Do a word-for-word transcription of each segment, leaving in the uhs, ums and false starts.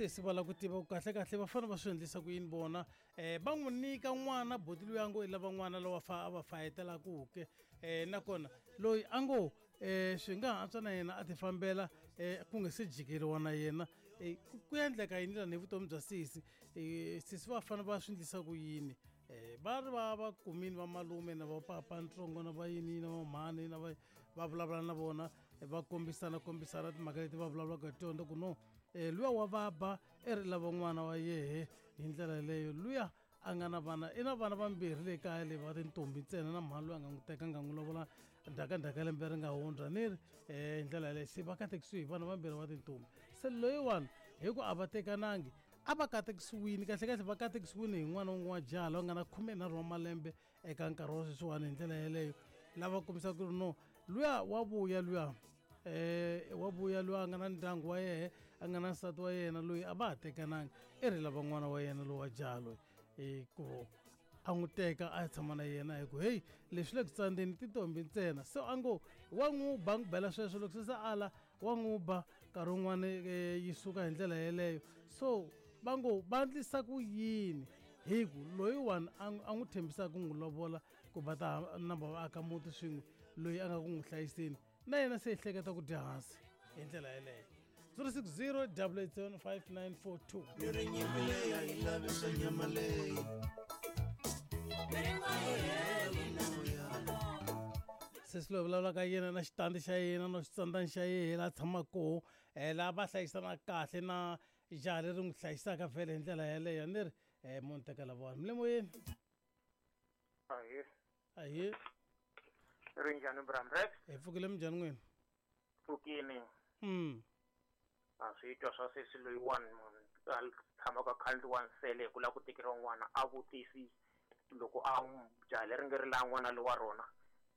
Sesi va lava ku tiva ku kahlekahle va fanele va swi endlisa ku yini vona um va n'wi nyika n'wana boti luya ngo i lava n'wana lowa fa a va fayetelaku ke um nakona loyi a ngo um swi nga antswa na yena a ti fambela um ku nga se jikeriwa na yena um ku endleka yini lani hi vutomi bya sesi um sesi va fanele va swi endlisa ku yini um va ri va va kumini va malume na va papa ntsongo na va yini na va mhani na va va vulavula na vona va kombisana kombisana timhaka leti va vulavulaka hi tona ku no um luya wa vaba i ri lava n'wana wa yehe hi ndlela yeleyo luya a nga na vana i na vana vambirhi le kaya leyi va tintombi ntsena na mhani loyi a nga n'wi teka nga n'wi lovola ndhakandhaka lembe ri nga hundza ni ri um hi ndlela yaleyo se va katekisiwe hi vana vambirhi va tintombi se loyiwani hi ku a va tekanangi a va katekisiwini kahlekahle va katekisiwini hi n'wana wun'we wa jaha loyi nga na khumenharhu wa malembe eka nkarhi wa sweswiwani hi ndlela yeleyo lava kombisaka ku ri no luya wa vuya luya eh wa vuya luya a nga na ndyangu wa yehe a nga na nsati wa yena loyi a va ha tekananga i ri lava n'wana wa yena lowa jaha loyi hi ku a n'wi teka a ya tshama na yena hi ku heyi leswi le ku tsandzeni tintombi ntsena so a ngo wa n'wi ba n'wi bela sweswo loko se se ala wa n'wi ba nkarhi wun'wani yi suka hi ndlela yeleyo so va ngo va endlisa ku yini hi ku loyiwani a n'wi tshembisaka ku n'wi lovola ku va ta namba va aka muti swin'we loyi a nga ku n'wi hlayiseni na yena se ehleketa ku dya hansi hi ndlela yeleyo zero six zero double eight seven five nine four two Miri nyimpi leyi a yi lavi swa nyama leyi sesi loyi vulavulaka yena na xitandi xa yena na xitsandzani xa yena laha tshamaka koho um laha va hlayisana kahle na jaha leri n'wi hlayisaka vhele hi ndlela yeleyo ni ri um munhu teka lavawani mi le moyeni Ahee. Ahee. Ri njhani Bramrex? Hi pfukile minjhani n'wina? Pfukini. Mm. A swi twa swa sesi loyiwani munhu a tshamaka kha wa nsele hi ku lava ku tekeriwa n'wana a vutisi loko a n'wi jaha leri nge ri laha n'wana lowa rona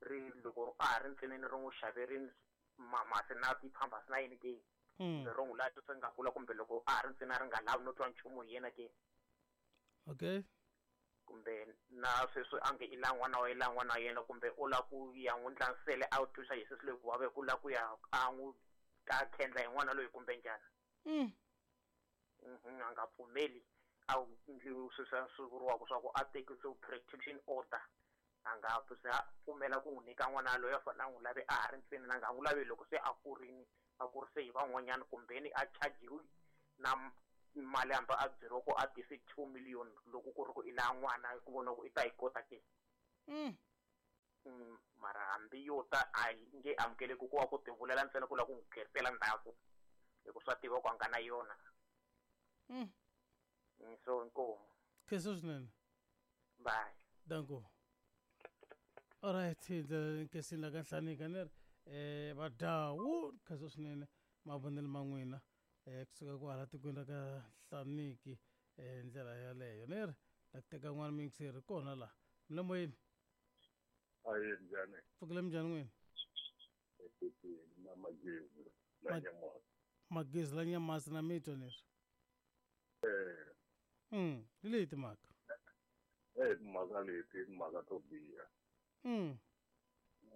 ri loko a ha ri ntsinini ri n'wi xaverini mamasi na ti-pampers na yini ke Mm. ro n'wi laha swi nga kula kumbe loko a ha ri ntsena ri nga lavi no twa nchumu hi yena ke Okay. kumbe na sweswi a nge i la n'wana wa i la n'wana wa yena kumbe u lava ku ya n'wi ndla nsele a wu twisa hi sesi loyi ku vava ku lava ku ya a n'wi ta khendla hi n'wana loyi kumbe njhani Mm. Mhm, a nga pfumeli a wu ndli sweswi swi vuriwaka swa ku a tekise protection order a nga se a pfumela ku n'wi nyika n'wana loyi a fanele a n'wi lave a ha ri ntsena a nga n'wi lavi loko se a kurini a kurise hi van'wanyana kumbeni a chajiwi na mali hambi a byeriwa ku a tise two million loko ku ri ku i laha n'wana ku vona ku i ta yi kota ke Mm. Mm, mara hambi yo ta a yi nge amukeleki ku va ku tivulela ntsena ku lava ku n'wi tlherisela ndzhaku hi ku swa tiva ku a nga na yona Mm. Mm, so inkomu Khensa swinene. Bye. Danko. Alright, hi ndlela leyi nkensini la ka Nhlanika ni ri eh vadawu khensa swinene mavonelo ma n'wina eh kusuka kwala tikweni ra ka Nhlaniki eh ndlela yaleyo ni ri la ku teka n'wana muyingiseri kona laha mi le moyeni Ayi njhani? pfukile minjhani n'wina Ephepheni na magezi la Ma- Nyamasi. magezi la Nyamasi na mitwa ni ri Eh, mm hi leyi timhaka eh timhaka leti i timhaka to biha. mm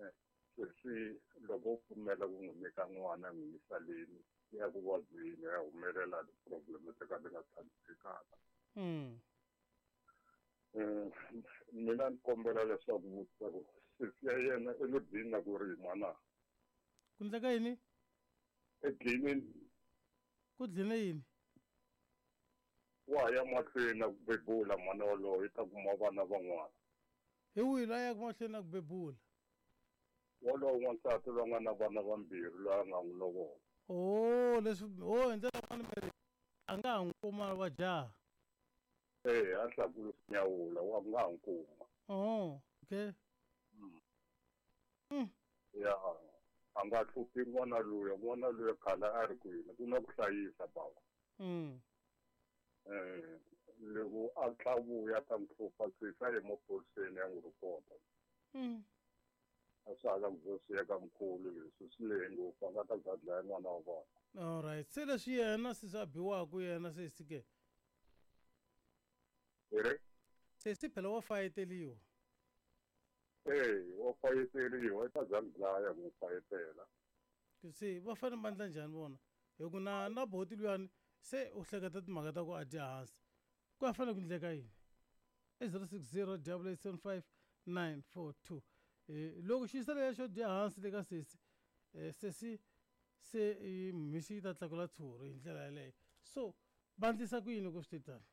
Eh, sweswi loko u pfumela ku n'wi nyika n'wana n'wi yisa leni ya ku vabyeni ya humelela ti-problem to ka ti nga tshamisekanga. mm Eh, mina ni kombela leswaku vutisa ku sesi ya yena i lo dlina ku rima na? Ku endleka yini? E dlinini. Ku dline yini? Wa ha ya mahlweni na ku bebula n'wana walowo i ta kuma vana van'wana. Hi wihi loyi a yaka mahlweni na ku bebula? Walowo n'wansati loyi a nga na vana vambirhi loyi a nga n'wi lovola. Oh, leswi oh hi ndlela yin'wana mi ri a nga ha n'wi kuma wa jaha. Eh, a hlakula nyawula wa nga ha n'wi kuma. Oh, okay. Mm. Mm. Ya, a nga hluphi n'wana luya, n'wana luya khale a ri kwini ku na ku hlayisa bava. Mm. Eh, loko a tla vuya ta n'wi hlupha sesi a ye maphoriseni ya n'wi ripota. Mm. A swa ha lavi ku swi ya ka mkhulu leswi swi lehe ngopfu a nga ta za dlaya n'wana wa vona. Alright, se leswi yena sesi a biwaka yena sesi ke. Hi ri? Sesi phela wa fayeteliwa. Eh, wa fayeteriwa i ta za n'wi dlaya ku n'wi fayetela. Se va fanele va endla njhani vona? Hi ku na na boti luyani Se u hleketa timhaka ta ku a dya hansi, ku ya fanele ku endleka yini? I zero six zero double eight seven five nine four two. um loko xiyisa leya xo dya hansi le ka sesi, um sesi se mhisi yi ta tlakula tshuri hi ndlela yeleyo. So va endlisa ku yini loko swi te tani?